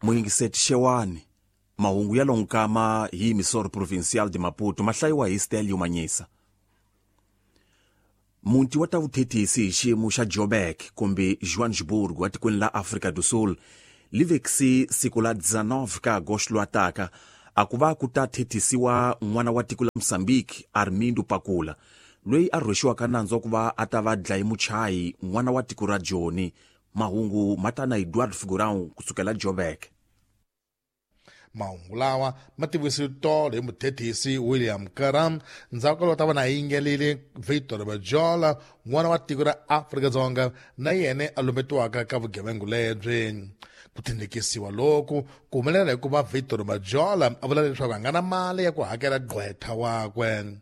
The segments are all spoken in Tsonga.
Muyingiseti Xewani, mahungu ya lonkama hi Emissora Provincial de Maputo ma hlayiwa hi Stelio Manyisa. Muti wa ta vuthethisi hi xiyimo xa Joburg kumbe Johannesburg wa tikweni la Afrika do Sul li vekisi siku la 19 ka Agosto lowa taka a ku va ku ta thethisiwa n'wana wa tiko la Mozambique Armindo Pakula loyi a rhwexiwaka nandzu wa ku va a ta va dlaye muchayi n'wana wa tiko ra Joni. Mahungu ma ta na Eduardo Figurão kusukela Joburg. Mahungu lawa ma tivisiwe tolo hi muthethisi William Karam ndzhaku ka loko ta va na yingelile Victor Bajola, n'wana wa tiko ra Afrika-Dzonga na yena a lumbetiwaka ka vugevengu lebyi. Ku tindikisiwa loku ku humelela hikuva Victor Majola a vula leswaku a nga na mali ya ku hakela gqwetha wakwe.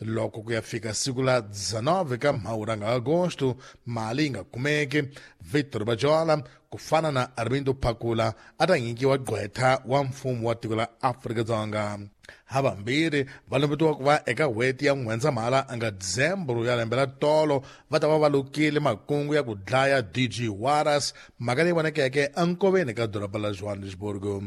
Loko ku ya fika siku la 19 ka Mhawuri nga Agosto mali yi nga kumeki, Victor Majola ku fana na Armindo Phakula a ta nyikiwa gqwetha wa mfumo wa tiko la Afrika-Dzonga. Havambirhi va lumbetiwa ku va eka n'hweti ya N'wendzamhala nga Dzembro ya lembe ra tolo va ta va va lukile makungu ya ku dlaya DG Waras, mhaka leyi vonekeke enkoveni ka doroba la Johannesburg.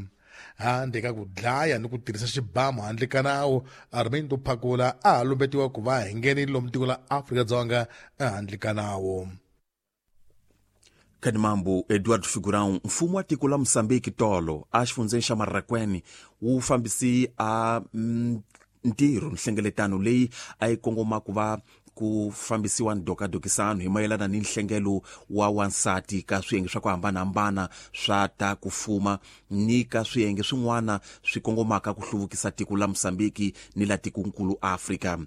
Handle ka ku dlaya ni ku tirhisa xibamu handle ka nawu, Armindo Phakula a ha lumbetiwa ku va hi nghenile lomu tiko la Afrika-Dzonga ehandle ka nawu. Kadimambu Eduardo Figurão, mfumo wa tiko la Mozambique tolo a xifundzeni xa Marraquene wu fambisi a ntirho nhlengeletano leyi a yi kongoma ku va ku fambisiwa ndokadokisano hi mayelana ni nhlengelo wa wansati ka swiyenge swa ku hambanahambana swa ta ku fuma ni ka swiyenge swin'wana swi kongomaka ku hluvukisa tiko la Mozambique ni la tikonkulu Afrika.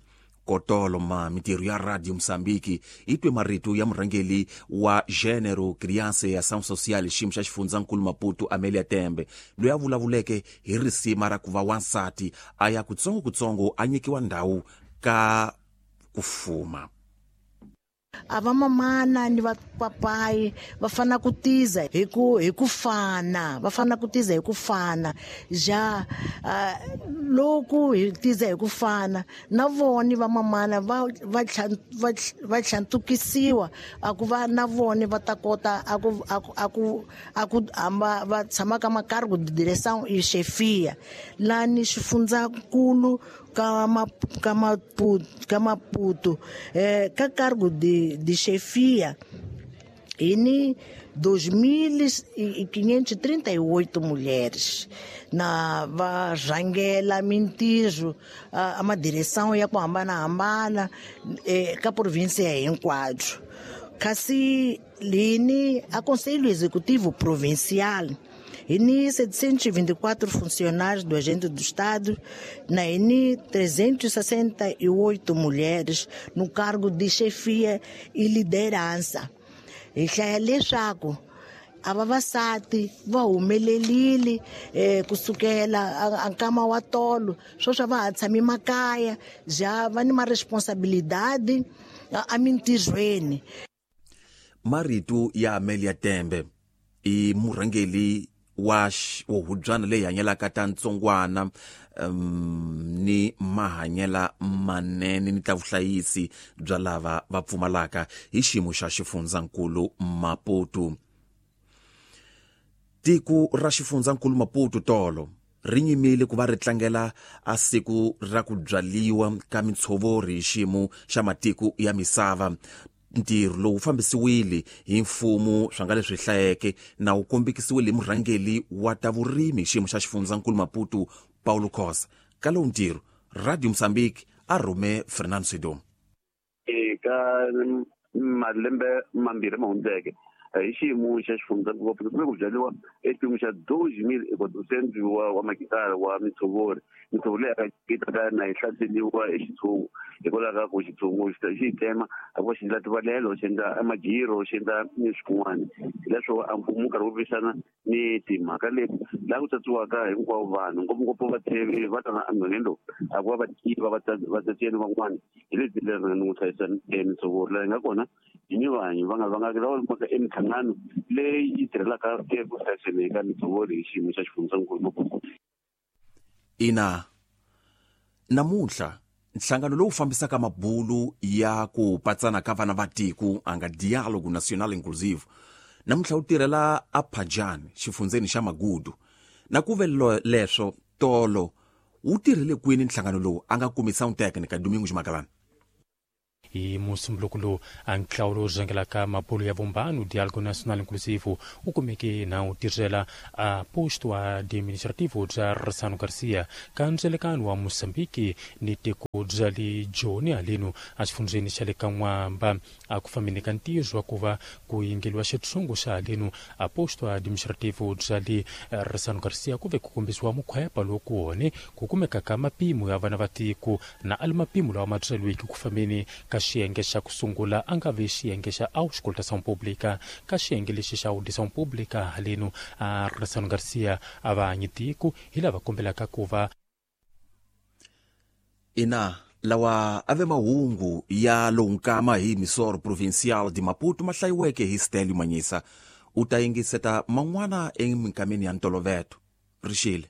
Kotolo ma mintirho ya Radio Mozambique yi twe marito ya murhangeri wa Gênero, Criança e Ação Social xiyimo xa xifundzankulu Maputo Amelia Tembe loyi a vulavuleke hi risima ra ku va wansati a ya kutsongokutsongo a nyikiwa ndhawu ka ku fuma. A va mamana ni va papayi va fana ku tiza hi ku hi ku fana, va fana ku tiza hi ku fana ja loko hi tiza hi ku fana na vona va mamana va va va va tlhantukisiwa a ku va na vona va ta kota a ku a ku a ku a ku hamba va tshama ka makarhi direção e chefia lani xifundzankulu ka ka Maputo, ka Maputo ka cargo de chefia e ni 2.538 mulheres na va rhangela mintirho a madireção ya ku hambanahambana ka província hinkwayo. Kasi lini a Conselho Executivo Provincial e ni 724 funcionários do agente do Estado, na ni 368 mulheres no cargo de chefia e liderança. Hi hlaya leswaku a vavasati va humelelile kusukela a nkama wa tolo sweswi va ha tshami makaya ja va ni ma responsabilidade emintirhweni. Marito ya Amelia Tembe i murhangeri wa hubyana leyi hanyelaka ta ntsongwana ni mahanyela manene ni ta vuhlayisi bya lava va pfumalaka hi xiyimo xa xifundzankulu Maputo. Tiko ra xifundzankulu Maputo tolo ri nyimile ku va ri tlangela a siku ra ku byaliwa ka mintshovori hi xiyimo xa matiko ya misava. Ntirho lowu fambisiwile hi mfumo swa nga leswi hlayeke na wu kombekisiwile hi murhangeri wa ta vurimi xiyimo xa xifundzankulu Maputo Paulo Khosa. Ka lowu ntirho Radio Mozambique a rhume Fernando Sidom. Eka malembe mambirhi ma hundzeke hi xiyimo xa xifundzankulu Maputo ku byariwa exipimo xa 2,400 wa makitara wa mitshovori. Mitshovori leyi yi ta na yi hlaseriwa hi xitshungu hikwalaho ka ku xitshungu xi yi tsema a ku va xi endla tivalelo, xi endla majiro, xi endla ni swin'wana. Hileswo a mfumo wu karhi wu lwisana ni timhaka leti laha ku tsatsiwaka hinkwavo vanhu ngopfungopfu vatshevi va tana emugangeni lowu a ku va va tiva vatsetseni van'wana hi lebyi leri ni n'wi hlayisa mitshovori laha yi nga kona hi ni vanhu va nga va nga lava mhaka eminhlangano leyi yi tirhelaka eku hlayiseni ka mitshovori hi xiyimo xa xifundzankulu Maputo. Ina, namuntlha nhlangano lowu fambisaka mabulu ya ku patsana ka vana va tiko a nga Dialogue National Inclusive namuntlha wu tirhela a Phajani xifundzeni xa Magudu. Na ku ve leswo tolo wu tirhile kwini nhlangano lowu a nga kumi sound technica Domingo Magalani. Hi musumbuluko lowu a ntlawa lowu rhangelaka mabulo ya vumbano Diálogo Nacional Inclusivo wu kumeke na wu tirhela a posto administrativo bya Ressano Garcia ka ndzelekano wa Mozambique ni tiko bya le Joni haleno exifundzheni xa le ka N'wamba. A ku fambeni ka ntirho wa ku va ku yingeliwa xitshungu xa haleno a posto administrativo bya le Ressano Garcia ku ve ku kombisiwa mukhwepa lowu ku wone ku kumeka ka mapimo ya vana va tiko na ali mapimo lawa ma byeriweke ku fambeni ka xiyenge xa ku sungula a nga vi xiyenge xa Auscultação Pública. Ka xiyenge lexi xa Audição Pública haleno a Ressano Garcia a va hanyi tiko hi lava kombelaka ku va ina lawa ave mahungu ya lowu nkama hi Misoro Provincial de Maputo ma hlayiweke hi Stelio Manyisa. U ta yingiseta man'wana eminkameni ya ntoloveto. Rixile.